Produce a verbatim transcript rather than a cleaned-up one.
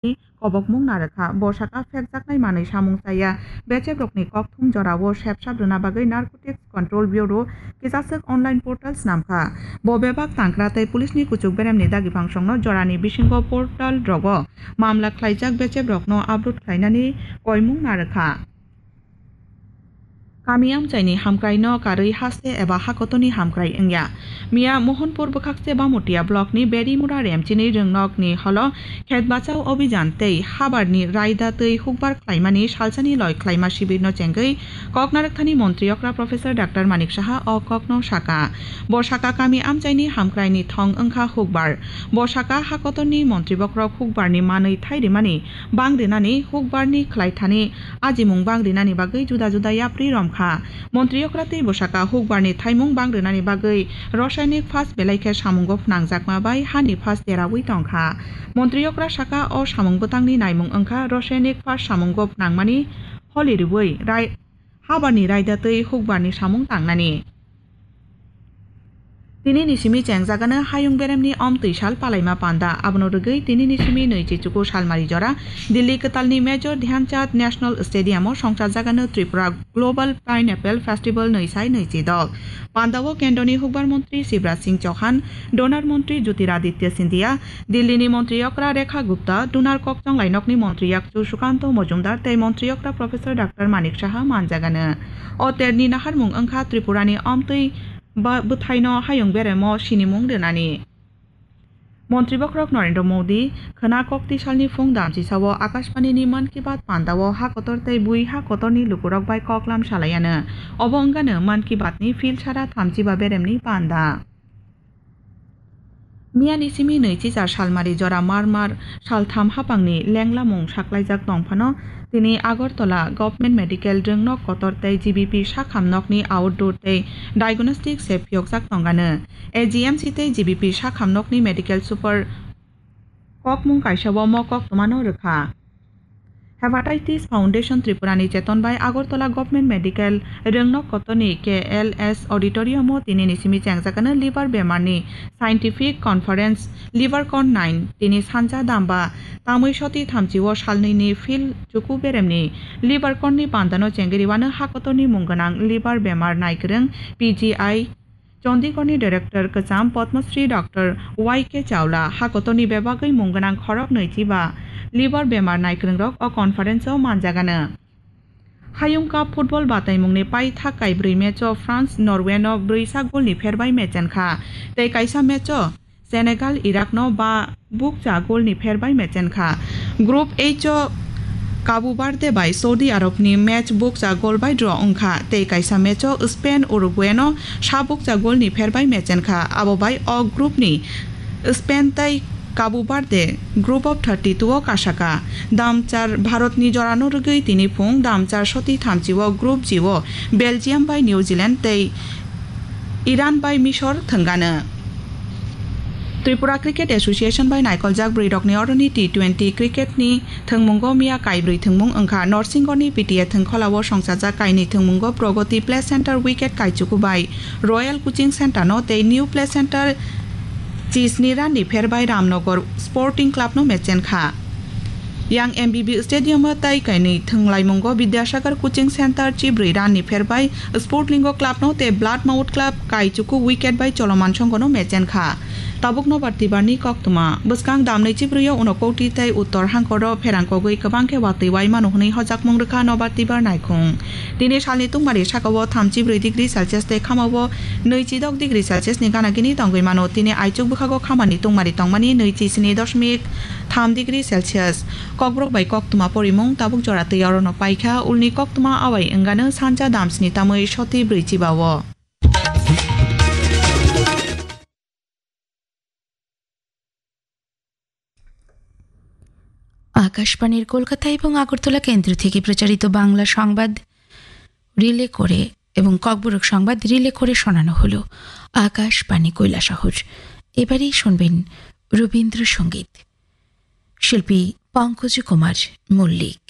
kobokmung narwkha. Bo saka phekjaknai manwi samung chaya bechebrokni kokthum jorao sepsap rwna bagwi Narcotics Control Bureau kisaswk online portal snamkha. Bo bebak tangkra tei police ni kuchuk beremni dagi bangsongno jorani bisingo portal rogo mamla khlaijak bechebrokno upload khlainani koimung narwkha. Kami amchaini hamkraino karwi haste eba hakotoni hamkrai wngya. Miya Mohanpur bwkhakse Bamutia blockni Berimura Remchini rwngnokni holo khet bachao obhijan tei habarni raida twi hukbar khlaimani salsani loi khlaima sibirno chengwi kok narwkthani montri okra Professor Doctor Manik Saha o kokno saka. Bo saka kami amchaini hamkraini thong wngkha hukbar. Bo saka hakotorni montri bokrok hukbarni manwi thai rimani bang rinani hukbarni khlaithani ajimung bang rinani bagwi juda juda yapri romkha. Montri okra tei bwsaka hukbarni thaimung bang rinani bagwi rasayanik phas belai khe samungo phnangjakma bai hani phas deraui tongkha. Montri okra saka o samung bwtangni naimung wngkha rasayanik phas samungo phnangmani holi riui rai-, habarni raida tei hukbarni samung tangnani. Tinini simi chengjagano hayung beremni omtwi sal palaima panda. Abono rwgwi tinini simi nwichi chuku salmari jora Delhi kwtalni Major Dhyan Chand National Stadium-o songchajagano Tripura Global Pineapple Festival nwi sai nwichi dok. Pandao kendroni hukbar montri Shivraj Singh Chauhan, donor montri Jyotiraditya Scindia, Delhi ni montri okra Rekha Gupta, donor kokchong lainokni montri yakchu Sukanto Mojumdar tei montri okra Professor Doctor Manik Saha manjagano. O terni naharmung wngkha Tripurani omtwi ba-, bwthaino hayung beremo sinimung rwnani. Montri bokrok Narendra Modi khwna kokti salni phung damchisao Akashbanini Mann Ki Baat pandao ha kotor tei bui ha kotorni lukurok bai koklam salaiano. Obo wngano Mann Ki Baatni phil sara thamchiba beremni panda. Miyani simi nwichi char salmari jora mar mar saltham hapangni lenglamung saklaijak tongphano, tini Agartala Government Medical Rwngnok kotor tei G B P sakham nokni outdoor tei diagnostic se phiyokjak tongano. A G M C tei G B P sakham nokni medical super kokmung kaisao mo koktwmano rwkha. Hepatitis Foundation Tripura ni cheton bai Agartala Government Medical Rwngnok kotorni K L S Auditorium o tinini simi chengjakano liver bemar ni scientific conference Liver Con nine tini sancha damba tamwi soti thamchi o salnwi ni phil chuku beremni Liver Con ni pandano chengwi riwano hakotorni mung gwnang liver bemar naikwrwng P G I Chandigarh ni director kwcham Padma Shri Doctor Y K Chawla hakotorni bebagwi mung gwnang khorok nwichi ba liver bemar naikwrwngrok o conference o manjagano. Hayung Cup football bataimungni paithak kaibrwi match o France Norway no brwi sak goal ni pherbai mechenkha tei kaisa match o Senegal Iraq no ba bukcha goal ni pherbai mechenkha. Group H o Cabo Verde bai Saudi Arab ni match bukcha goal bai draw wngkha tei kaisa match o Spain Uruguay no sa bukcha goal ni pherbai mechenkha. Abo bai o group ni Spain tei Cabo Verde group of thirty two o kasaka. Damchar Bharat ni jorano rwgwi tini phung damchar soti thamchi o group G o Belgium bai New Zealand tei Iran bai Misor thwngano. Tripura Cricket Association bai naikoljak bwrwirokni oroni T twenty cricket ni thwngmungo miya kaibrwi thwngmung wngkha. Norsingorni P T A thwngkholao songchajak kainwi thwngmungo Pragati Play Center wicket kaichuku bai Royal Coaching Center no tei New Play Center chisni run ni pherbai Ramnagar Sporting Club no mechenkha. Yang M B B Stadium o tai kainwi thwnglaimungo Vidyasagar Coaching Center chibrwi run ni pherbai Sportlingo Club no tei Bloodmouth Club kaichuku wicket bai Choloman Songho no mechenkha. Tabuk nobar tibarni koktwma. Bwskang damnwi chibrwi o Unakoti tei Uttor Hangkor o pherang kogwi kwbang khe watwi wai mano hwnwi hojakmung rwkha nobar tibar naikhung. Tini salni tungmari sakao thamchi brwi degree Celsius tei khamao nwichi dok degree Celsius ni gana gini tongwi mano. Tini aichuk bwkhago khamani tungmari tongmani nwichi sini dosmik tham degree Celsius. Kokborok bai koktwma porimung tabuk jora twi orono paikha. Ulni koktwma awai wngano sancha damsni tamwi soti brwi chiba o. আকাশবাণীর কলকাতা এবং আগরতলা কেন্দ্র থেকে প্রচারিত বাংলা সংবাদ রিলে করে এবং ককবরক সংবাদ রিলে করে শোনানো হলো আকাশবাণী কৈলাসহর। এবারেই শুনবেন রবীন্দ্রসঙ্গীত। শিল্পী পঙ্কজ কুমার মল্লিক।